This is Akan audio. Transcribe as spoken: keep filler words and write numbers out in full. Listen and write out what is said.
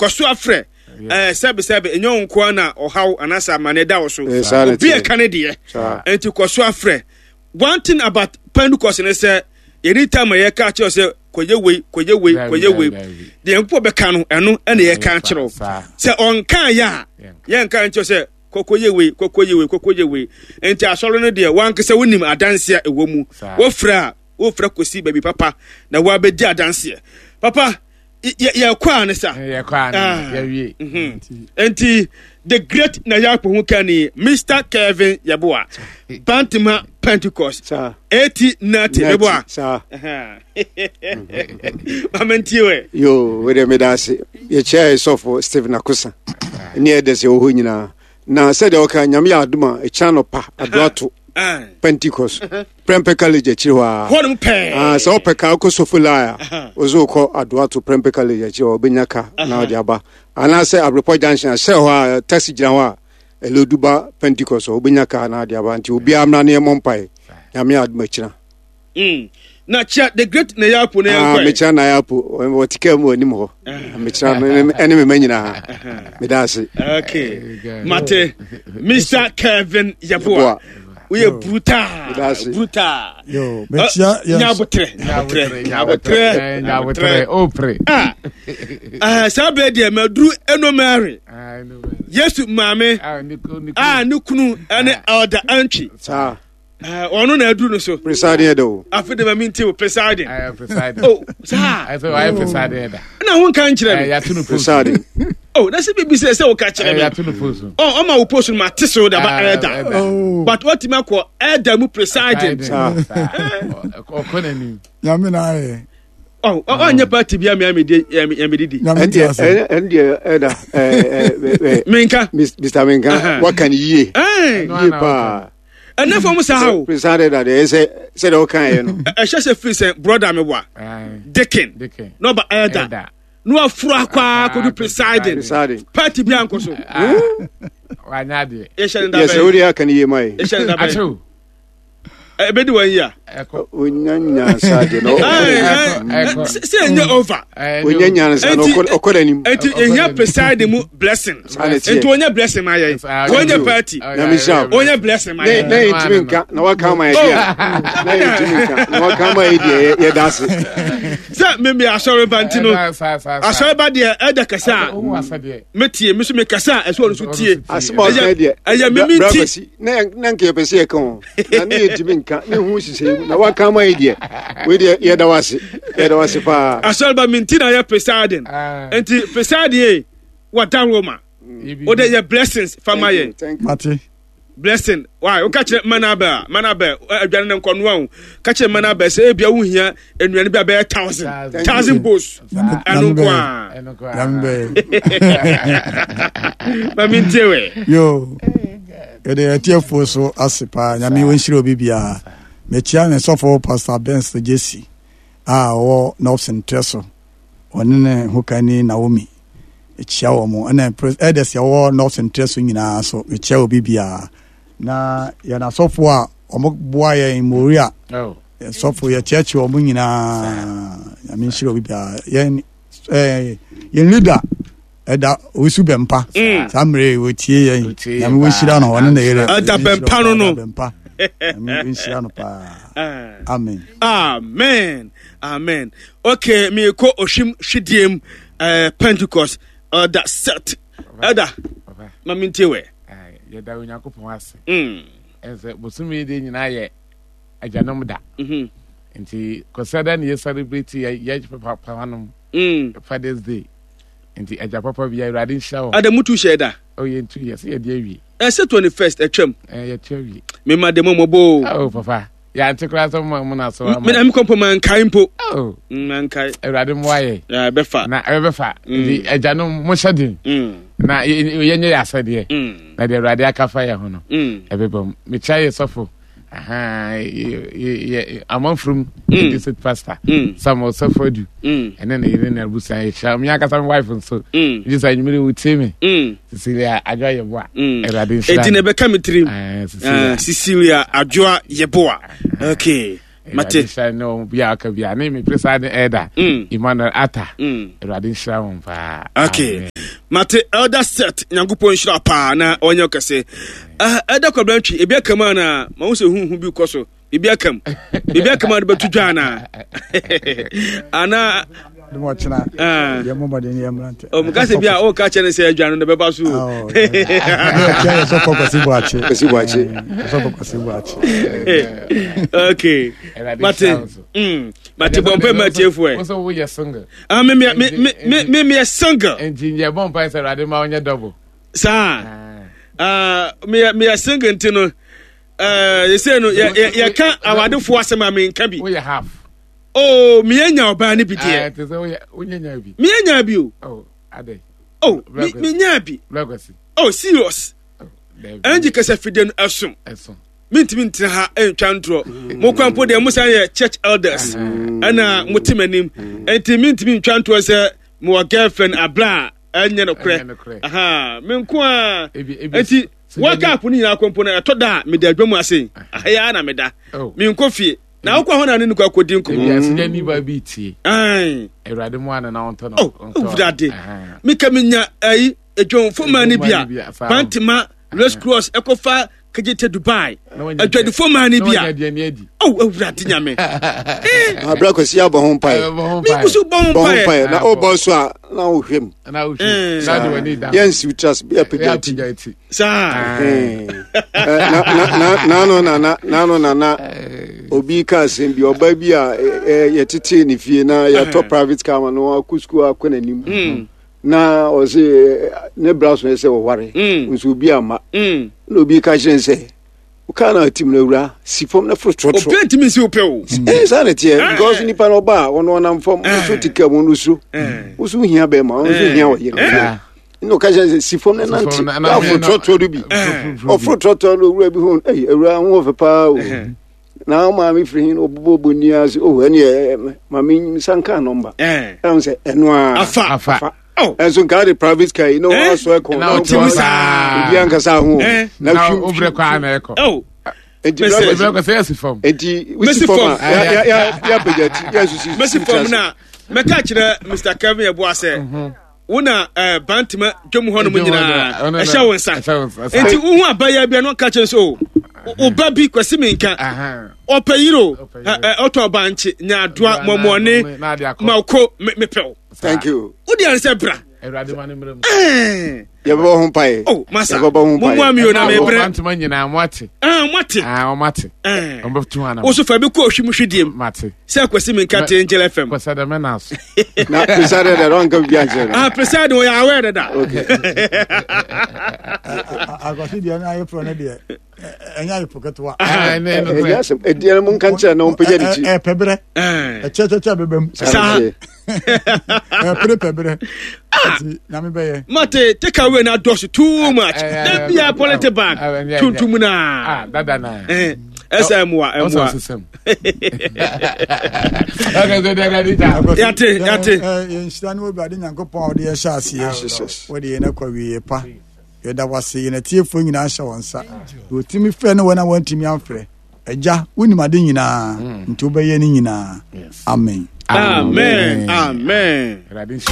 Kɔ so afrɛ. Ɛɛ sɛbi sɛbi, ɛnyɛ wo nko ara na ɔhaw anaasɛ amane da wo so. Eh, saa na Obi ɛteɛ. ɛka ne deɛ. Saa. Nti kɔ so afrɛ. One thing about Pentecost ne sɛ yɛni time a yɛka kyerɛ wo sɛ kɔyɛ wei, kɔyɛ wei, Dabi, kɔyɛ wei. dabi, dabi. Deɛ Nyankopɔn bɛka no, ɛno ɛna yɛka kyerɛ wo. Saa. Sɛ ɔnka yɛ a, yɛnka nkyerɛ sɛ kɔkɔ yɛ wei, kɔkɔ yɛ wei, kɔkɔ yɛ wei. Nti asɔre no deɛ, wankasa wonim adanseɛ a ɛwɔ mu. Saa. Wofrɛ a, wofrɛ kɔsi baabi papa na woabɛdi adanseɛ. Papa, yɛ- yɛkɔ a ne sa. Yɛkɔ a Ah. ne yɛwie. Mhm. Nti the great Nayapo ho kani Mister Kevin Yeboah, Bantama Pentecost, Saa. eighty ninety Yeboah. Saa. Mama ntie wɛ. Yo, wede meda ase. Yɛkyia yɛ sɔfo Stephen Akosa ne ɛdɛ sɛ ɛwɔ hɔ nyinaa. Na sɛdeɛ wɔka, Nyame yɛ adom a, ɛkyina nɔpa adoato Ah. Pentecost Prempeh College akyiri hɔ a. Hɔ nom pɛɛ. Ah, sɛ wopɛ ka wokɔ Sofoline a, wo so wokɔ Adoato Prempeh College akyiri hɔ, wobɛnya ka na wode aba, anaasɛ Abrepɔ Junction ahyɛ hɔ a, taxi gyina hɔ a ɛlɛdu ba Pentecost hɔ, wobɛnya ka na wode aba. Nti obiara mmra ne yɛmmɔ mpae. Nyame yɛ adom akyina. Mm. Na kyia the great Nayapo na Ah, yɛnkɔ ɛ. mekyerɛ Nayapo, wɔte kaa mu wɔ anim hɔ. Mekyerɛ no ɛne me ma nyinaa. Meda ase. Okay. Mate Mister Kevin Yeboah. Yeboah. Woyɛ brutal. Meda ase. Brutal. Yo, mekyia yɛn Nyabotrɛ, nyabotrɛ, nyabotrɛ, Nyabotrɛ, opere. Ah. Ah, saa bɛɛ deɛ maduru Enomary. Yesu maame a ne kunu ne Elder Antwi. Saa. Ah, ɔno na aduru no so. Presiding ɛdɛ o. Afei de ma mi nti o presiding. Presiding. Oh, saa. Ɛsɛ wayɛ presiding ɛda. Ɛna ho nka nkyerɛ mi. Yɛato no post. Presiding. Oh, na sɛ bibi sɛ sɛ woka kyerɛ mi. Yɛato no post. Oh, ɔma wo post no ma te so daba elder. Oh. But watumi akɔ elder mu presiding. Saa. Ɔkɔ n'anim. Nyame na ayɛ. Oh, ɔnyɛ party bi a mi a mi di mi di di. Nyame ti Ɛndeɛ ase. ɛndeɛ ɛda ɛɛ ɛɛ Menka. Mister Menka waka ne yie. Ɛn. Yie paa. Ɛnɛ fam saa o. Presiding ɛda deɛ ɛsɛ sɛdeɛ ɔka yɛ no. Ɛhyɛ sɛ firi sɛ brother mi wa. Deacon. Deacon. N'ɔba elder. Na waforo akɔ akɔdu presiding. Presiding. Party bi ankɔ so. Wanya adeɛ. Yɛhyɛ ne Yɛ sɛ dabɛn. wode aka ne yie ma yɛ. Yɛhyɛ ne dabɛn. Akyɛw. Ɛbɛdi wɔn yi a. Ɛkɔ. Onya nyansa deɛ na Ɛɛ, ɔkɔ. ɛɛ, sɛ ɛnyɛ over. Onya nyansa na ɔkɔ ɔkɔ n'anim. Eti ehia presiding mu blessing. Saa na ɛteɛ. Nti onye blessing ma yɛn. Onye party. Nyame nhyira wo. Onye blessing ma Na yɛn. na yɛntumi nka na waka ama yɛ deɛ a. Na yɛntumi nka na waka ama yɛ deɛ yɛ- yɛda ase. Sɛ mímí asɔreba nti no, asɔreba deɛ ɛda kɛse a metie, mi nso mi kɛse a ɛsɛ ɔno nso tie. Asɛm a ɔka deɛ. Ɛyɛ mímí Bra nti. Kwasi, na yɛn- na nka yɛpɛ sɛ yɛka ho na ne yɛntumi nka ne ho hyehyɛ mu na waka ama yɛ deɛ, wei deɛ yɛda wo ase, yɛda wo ase paa. Asɔreba mi nti na yɛ presiding. Nti presiding yɛ wada Roma. O de yɛ blessings fama Thank you, yɛn. thank you. Mate. Blessing why o ka kyerɛ manabel manabel aduane ne nkɔnoa o ka kyerɛ manabel sɛ ebia wohia nnuane bi a bɛyɛ thousand Thank thousand you. bowls. Nyame ɛno nyame nko bɛyɛ. a Nyame bɛyɛ. Ma mentie wɛ. Yo, yɛde atiefoɔ so ase paa. Nyame wɔnhyira obi biara. Mekyia me sɔfo Pastor Benz Jesse a ɔwɔ Nobson trɛ so, ɔne ne hokani Naomi. Mekyia wɔ mo ɛna pres- elders a wɔwɔ Nobson trɛ so nyinaa so. Mekyia obi biara na yɛn asɔfoɔ a ɔmo boa yɛn Moria sɔfo, yɛkyerɛkyerɛ ɔmo nyinaa. Nyame nhyira obi biara. Yɛn ɛɛ yɛn leader ɛda Owusu Bɛmpa, saa mmerɛ yi wɔtie yɛn. Wɔtie yɛn Nyame wɔnhyira no, ɔne ne yere. Ɛda Bɛmpa no no. Ɛda Bɛmpa, Nyame wɔnhyira no paa. Amen. Amen, amen. Okay, meekɔ Ohwim hwediem eh, Pentecost elder set elder, ma mentie wɛ. Yɛda Onyankopɔn ase. Mm. Ɛsɛ bosome yi deɛ nyinaa yɛ agyanom da. Mhm. Nti kɔsɛ ne yɛ celebrate yɛ yɛ papanom Mm. Father's Day. Nti agya papa bia, Awurade nhyira wɔn. Ada mutu hyɛ da. Oh, yɛntu yɛ sɛ yɛde awie. Ɛsɛ twenty-first atwam. Ɛɛ, yɛtu awie. Mema de mɔmɔbɔ. Oh papa, yɛante koraa sɛ mo mo na so ama. Mena mekɔ mpo mankae mpo. Oh. Mm, mankae. Awurade mmoa yɛ. Yeah, ɛbɛfa. Na ɛbɛfa. Nti agyanom, mohyɛ den Mm. na yɛ- yɛnyɛ yɛ asɛdeɛ Mm. na deɛ Awurade aka fa yɛ ho no Mm. ɛbɛba mu. Mekyia yɛ sɔfo. Aha, yɛ- yɛ- yɛ- amanfurum Mm. district pastor Mm. Samuel Sɔfo Adu Mm. ɛne ne yere ne abusua, yɛhyira me ankasa me wife nso. Mm. Gye sɛ anwummere wotie me. Mm. Cecilia Adwoa Yɛboa. Mm. Awurade nhyira Ɛdi na no. ɛbɛka me tirim. Eh, Cecilia. Ah, Cecilia Adwoa Yeboa. Okay, mate. Awurade nhyira ne wɔn bia aka bia ne me presiding elder Mm. Emmanuel Atta. Mm. Awurade nhyira wɔn paa. Okay. Amen. Mate Elder Set, Nyankopɔn nhyira paa na ɔnyɛ kɛse. Uh, Elder Kwabena Ntwi, ebi aka mu anaa? Ma wo sɛ huhu bi kɔ so. Ebi aka mu. Ebi aka mu a de bɛto dwa anaa? Anaa dum ɔkyena yɛ mo mɔden yɛ mmerante. O mka sɛ bi a o ka kyerɛ ne sɛ adwa no na bɛba so o. Ɔkyɛ yɛ sɔfo Kwasi Boakye. Kwasi Boakye. Sɔfo Kwasi Boakye. Okay. Mate. Mm. Mate bɔ mpa ma tiefo ɛ. Wo sɛ woyɛ single. Ah me me me me me me single. Nti yɛ bɔ mpa sɛ Awurade ma wonyɛ double. Saa. Ah me me single nti no. Eh yɛsɛ no yɛ yɛ ka awadefoɔ asɛm a menka bi. Woyɛ half. Oh, me nya ɔbaa no bi deɛ. Ah, te sɛ woyɛ wonya nya bi. Me nya bi o. Oh, adɛ. Oh, me me nya bi. Oh, serious. Ɛnji kasa fide no ɛso. Ɛso. Mintimi ntena ha ntwa ntorɔ. Mo kwan po deɛ mo san yɛ church elders. Ɛna mo te m'anim. Nti mintimi ntwa ntorɔ sɛ mewɔ girlfriend abla a ɛnyɛ nokorɛ. Aha, me nko a. Nti World Cup no nyinaa kɔ mpo no ɛtɔ da a meda adwa mu ase. Aha yi ara na meda. Menkɔ fie. Na wokɔ hɔ na ne nukɔ akɔdi nkɔmmɔ. Ebi ase ni ba bi tie. Ayi. Awurade mu ana na ɔntɔ na. Oh, Awurade. Mika minya ayi edwomfo maa ni bi a Bantama Race Cross ɛkɔfa kejete Dubai. Adwadifo maa ni bi a. Oh, Awurade nyame. Eh. Abra kwasi abɔ ho mpae. Mi kusu bɔ ho mpae. Na ɔbɔ so a na wohwɛ mu. Na wohwɛ mu. Na de w'ani da. Yɛn si trust yɛ pagya ti. Saa. Nano nana nano nana obi ka asɛm bi ɔba bi a yɛtetee ne fie na yɛtɔ private car ma no akɔ sukuu akɔ n'anim na ɔse ne bra so sɛ ɔware nso obi ama na obi ka kyerɛ sɛ kaa na atim no awura si fam na foro trɔtrɔ obi ntumi nsi wo pɛ o ɛɛ saa na ɛteɛ because nipa no ɔba a ɔno ɔnam fam nso te kaa mu ɔno suro woso hia bɛrima ɔno nso hia ɔyere na ɔka kyerɛ sɛ si fam na nante na aforo trɔtrɔ no bi ɔforo trɔtrɔ no owura bi ho ɛyi awura ho ɔfɛ paa o na maame firi hin ɔbobɔ bɔ ni ase o ɛne ɛ maame nsa nka nɔmba ɛna sɛ ɛno a afa afa ɛnso nka de private car yi na wɔn asɔ ɛkɔn na ɔte mu saa obi ankasa ho na hwim obrɛ kɔ ana ɛkɔ nti brɛ kɔ sɛ yɛsi fam nti wosi fam a ya ya ya pagya ti yɛ nso si mesi fam na mɛka kyerɛ Mr Kevin Yeboah sɛ wo na eh, Bantama dwam hɔ nom nyinaa ɛhyɛ wo nsa nti wohu abaya bia no ka kyerɛ sɛ o wo ba bi Kwasi Menka ɔpɛ yere o ɔtɔ bankye nyaadoa mɔmɔne mako mepɛw thank you wo deɛ sɛ bra Awurade ma ne mmerɛ mu yɛbɛbɔ ho mpaeɛ oh masa yɛbɛbɔ ho mpaeɛ mo mi o na mebrɛ Bantama nyinaa mo ate ah mo ate ah mo ate ɔmo bɛtu ana wo so fa bi kɔ ohwim hwidiem mate sɛ Kwasi Menka te Angel F M Kwasi dɛ mɛna so na presa dɛ dɛ ɔnka biribi ankyerɛ no ah presa de ɔyɛ aware dada okay Akwasi deɛ no ayɛ forɔ no deɛ ɛnyɛ ayɛ fo ketewa ɛnyɛ asɛm ɛdeɛ no mo nka nkyerɛ na ɔmpagya ne ti ɛpɛberɛ ɛkyɛkyɛkyɛ bɛbɛ mu saa ɛpere pɛberɛ nti nyame bɛyɛ mate take away na dɔso too much da bia polity bag tuntum naa dada naa ɛsɛ mmoa ɛmmoa yate yate yɛnhyira ne Awurade Nyankopɔn a ɔde yɛhyɛ aseɛ wɔde yɛn akɔ awieɛ pa. Yɛda wase yɛn atiefoɔ nyinaa hyɛ wɔn nsa. Deɛ ɔtumi frɛ ne wɔn a wɔntumi amfrɛ. Agya, wonim ade nyinaa, nti wobɛyɛ ne nyinaa. Amen. Amen. Amen.